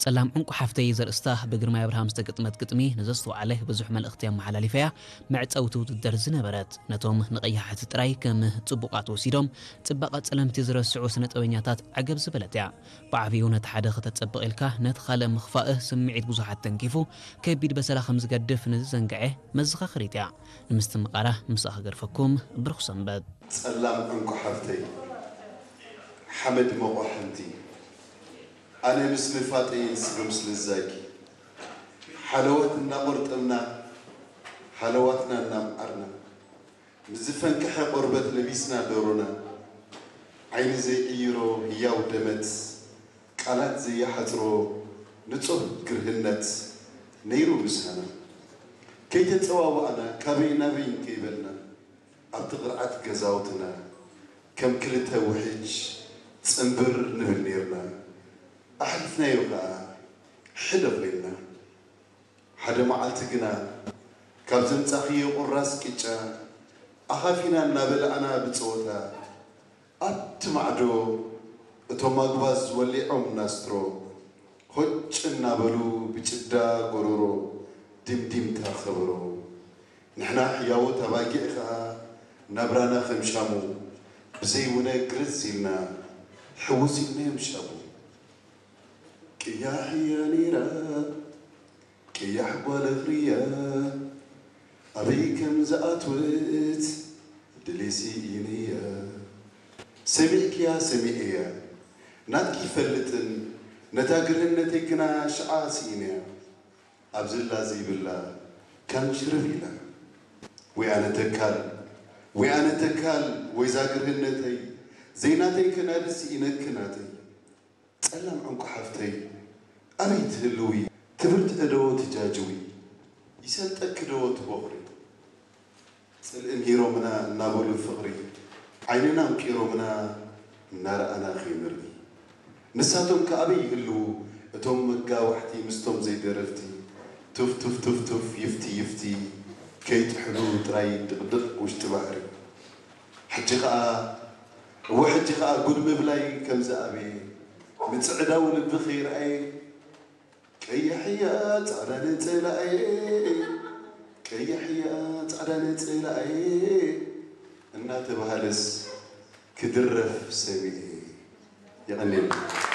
ጸላም ዕንቁ ሓፍተይ ዘርእስታ ብግርማይ ኣብርሃም ዝተገጥመት ግጥሚ ንዘስተውዓለ ብዙሕ መልእኽቲ ኣመሓላሊፈያ። መዕጸውቲ ውድድር ዝነበረት፣ ነቶም ንቐያሕቲ ጥራይ ከም ጽቡቓት ወሲዶም ጽባቐ ጸለምቲ ዝረስዑ ስነ ጥበበኛታት ዓገብ ዝበለት እያ። ብዓብዩ ነቲ ሓደ ከተጸብቕ ኢልካ ነቲ ካልእ ምኽፋእ ስምዒት ብዙሓት ተንኪፉ ከቢድ በሰላ ከም ዝገድፍ ንዝዘንግዐ መዘኻኸሪት እያ። ንምስትምቓራ ምስኣ ክገድፈኩም። ብሩኽ ሰንበት። ጸላም ዕንቁ ሓፍተይ፣ ሓመድ መቑሓንቲ፣ ኣነ ምስ ንፋጠይ ንስኺ ምስ ልዛጊ፣ ሓለዋት እናቖርጠምና፣ ሃለዋትና እናምዓርና፣ ምስ ዝፈንቀሐ ቆርበት ለቢስና ዶሮና፣ ዓይኒ ዘይዕይሮ ህያው ደመት፣ ቃላት ዘይሓጽሮ ንጹህ ግርህነት ነይሩ ምሳና። ከይተጸዋዋዕና፣ ካበይ ናበይ እንከይበልና፣ ኣብቲ ቅርዓት ገዛውትና ከም ክልተ ውሕጅ ጽንብር ንብል ኔርና። ኣሕሊፍናዮ ከኣ ሕደ ኾይንና። ሓደ መዓልቲ ግና ካብ ዘምጻኽዮ ቁራስ ቅጫ ኣኻፊና እናበላዕና ብጸወታ፣ ኣብቲ ማዕዶ እቶም ኣጉባዝ ወሊዖም ናስትሮ፣ ሆጭ እናበሉ ብጭዳ ጎሮሮ ድምዲምታ ከበሮ። ንሕና ሕያዎት ኣባጊዕ ኸኣ ናብራና ከም ሻሙ፣ ብዘይ ውነ ግርዝ ኢልና ሕውስ ኢልናዮም ሻቡ። ቅያሕ እያ ነይራ፣ ቅያሕ ጓል እኽርያ፣ ኣበይ ከም ዝኣትወት ድሌሲ ኢነያ። ሰሚዕክያ ሰሚዐያ፣ ናትኪ ይፈልጥን ነታ ግርህነተይ ግና ሽዓ ስኢነያ። ኣብዝላ ዘይብላ ካን ሽርብ ኢላ። ወይ ኣነ ተካል፣ ወይ ኣነ ተካል፣ ወይዛ ግርህነተይ፣ ዘይናተይ ከናድስ ኢነኪ ናተይ። ጸላም ዕንቁ ሓፍተይ፣ ኣበይ ትህልዊ? ትብርትዒ ዶ ትጃጅዊ? ይሰልጠኪ ዶ ትቦኽሪ? ጽልኢ ምሂሮምና እናበሉ ፍቕሪ፣ ዓይንና ኣምቂሮምና እናረኣና ከይንርኢ። ንሳቶም ከ ኣበይ ይህልዉ? እቶም መጋዋሕቲ ምስቶም ዘይደረፍቲ፣ ቱፍ ቱፍ ቱፍ ቱፍ፣ ይፍቲ ይፍቲ፣ ከይጥሕሉ ጥራይ ድቕድቕ ውሽጢ ባሕሪ። ሕጂ ኸኣ፣ እወ ሕጂ ኸኣ ጉድ ምብላይ ከም ዝኣበየ፣ ምጽዕዳው ልቢ ከይረኣየ፣ ቀያሕያ ጻዕዳ ነጸላኣየ፣ ቀያሕያ ጻዕዳ ነጸላኣየ እናተባህለስ ክድረፍ ሰሚዐ። የቐንየልና።